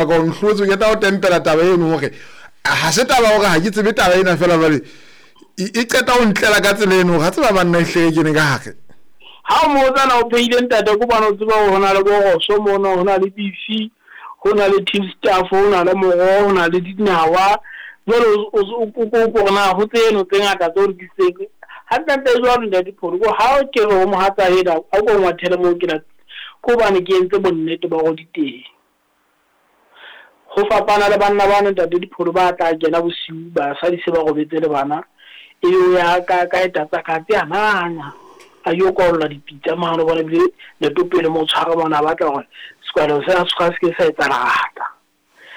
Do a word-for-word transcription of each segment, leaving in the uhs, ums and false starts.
Ka o nhlotse ke tla o tempela taba eno hore ha se taba hore ha ke tsebe taba ena fela jwale e qeta ho ntlela ka tsela eno ga tseba banna ehlile ke ne ka hare. Ha o motsana o phehile ntate ko bana o tseba hore hona le boroso mona, hona le beef, hona le team staff, hona le moroho, hona le dinawa. Jwale o ko na ho tseno tse ngata tse o rekisitseng. Hantlentle jwalo ntate Pholo, ko ha ke re ho mohatsa ena a ko ngwathele moo ke la ko hobane ke entse bonnete ba hore di teng. Ho fapana le banna bana ntate Dipholo ba tla kena bosiu basadi se ba robetse le bana, ebe o ya ka ka etatsa katse a nanya a yo kwaolla dipitsa mane, o bona ebile netopele mo tshwara mona a batla hore sekwalelo sena se se ke sa etsa lerata.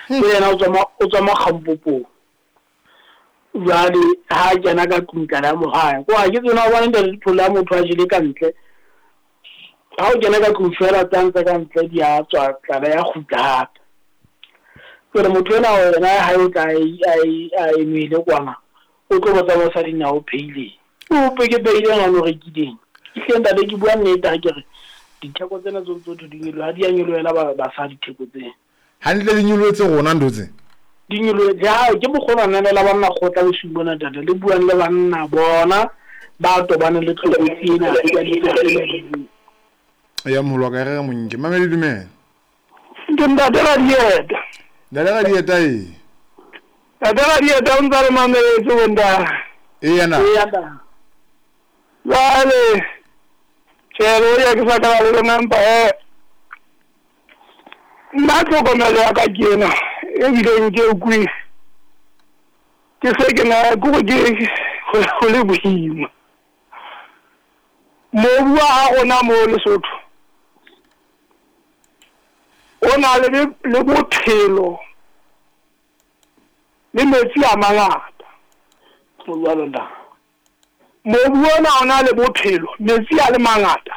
Ke yena o tswa o tswa makgampopong. Jwale ha kena ka tlung tlala ya mohae ko ha ke tsena o bona ntate Dipholo ya motho a jele ka ntle. Ha o kena ka tlung fela tsa ntse ka ntle di a tswa tlala ya kgutla hape. Jwale motho ena yena ha o tla a e nwele kwana o tlo botsa mosadi na o phehileng. O pe ke phehileng ha o rekileng. Ehlile ntate ke bua nnete ha ke re ditheko tsena tso tso di nyoloha ha di a nyolohela basadi theko tsena. Hantle di nyolohetse rona ntho tse. Di nyolohetse ha ke mokgwa ona la banna kgotla bosiu bona ntate le buang le banna bona ba tobane le tlokotsi ena ya ditsela. Ya moholo wa ka re monke mamedi dumela. Ke ntate Radieta. Ntate Radieta e. Ntate Radieta o ntsa le mameletse bonta. E yana. E yana. Jwale tjhe ya ke sa ka le lona mpa e nna tlhokomelo ya ka ke ena ebileng ke ukwe ke se ke na ke ke go le boima. Mobu wa rona mo Lesotho o na le le bophelo le metsi a mangata. Mobu ona o na le bophelo, metsi a le mangata.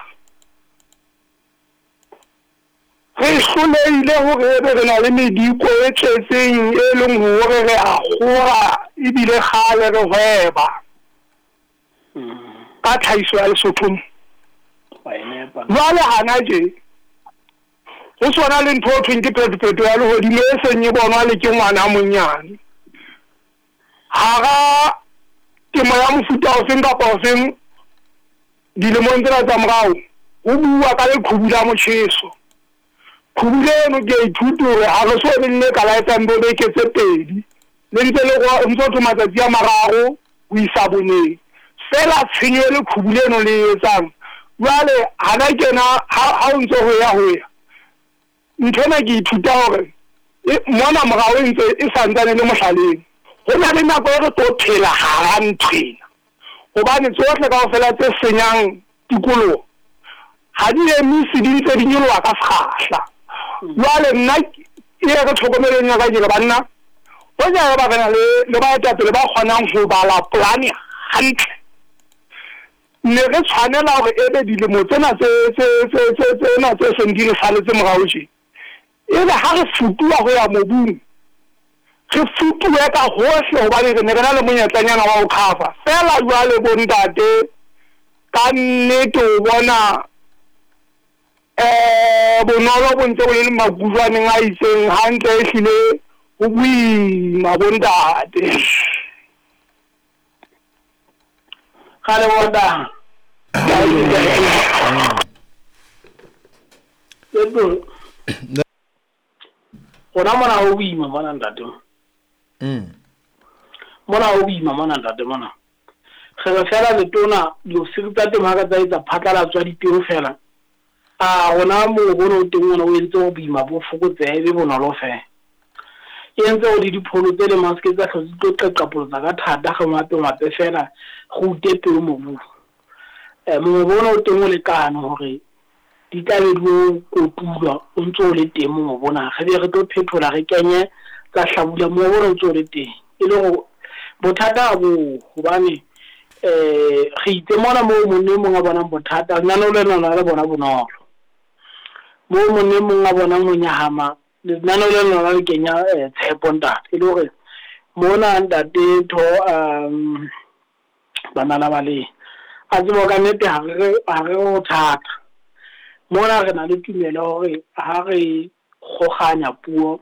Re hlolehile hore ebe re na le mediko e tletseng e leng hore re a kgora ebile kgale re hweba ka tlhahiso ya Lesotho. Jwale hana tje ho sona le ntho e thweng ke phetophetoho ya lehodimo e seng e bonwa le ke ngwana a monyane. Hara temo ya mofuta ofeng kapa ofeng dilemong tsena tsa morao ho bua ka leqhubu la motjheso. Qhubu leno ke a ithuta hore ha re so be le ka la etsang bo beke tse pedi le ntse le go ntso thoma matsatsi a mararo ho isa boneng fela tshenyo le qhubu leno le etsang. Jwale hana kena ha o ntso ho ya ho ya ntho ena ke ithuta hore mona morao e ntse e santsane le mohlaleng. Ho na le nako e re tlo phela hara nthwena hobane tsohle kaofela tse senyang tikoloho ha di emise, di ntse di nyoloha ka sekgahla. Jwale nna e re tlhokomelong ya ka ke re banna hoja ba re na le le baetapele ba kgonang ho bala polane hantle, ne re tshwanela hore ebe dilemo tsena tse tse tse tse tsena tse seng di re saletse morao tje ebe ha re futuwa ho ya mobung re futuwe ka hohle hobane re ne re na le monyetlanyana wa ho cover fela. Jwale bontate ka nnete o bona eh bonolo bo ntse bo le makujwaneng a itseng hantle ehlile ho boima bontate. Kgale bontate. Rona mona ho boima mona ntate. Mm. Mona ho boima mona ntate mona. Re re fela letona diofisiri tsa temo ha ka tsa etsa phatlalatso ya dipeo fela. A rona mobu ono o teng ona o entse hore boima bo fokotsehe ebe bonolo fela. E entse hore dipholo tse le maske tsa hlotse di tlo qeqapolotsa ka thata re ngwape ngwape fela re ute peo mobung. Eh mobu ona o teng o lekane hore di tla be di o kotulwa o ntso o le teng mobu ona. Re be re tlo phethola re kenye tsa hlabula mobu ona o ntso o le teng. E le hore bothata bo hobane eh re itse mona moo monna e mong a bonang bothata lenaneo lena lona le bona bonolo. Moo monna e mong a bonang ho nyahama lenaneo lena lona le kenya tshepo ntate. E le hore mona ntate tho um bana la bale a tsebo ka nnete ha re ha re ho thata. Mona re na le tumelo hore ha re kgokganya puo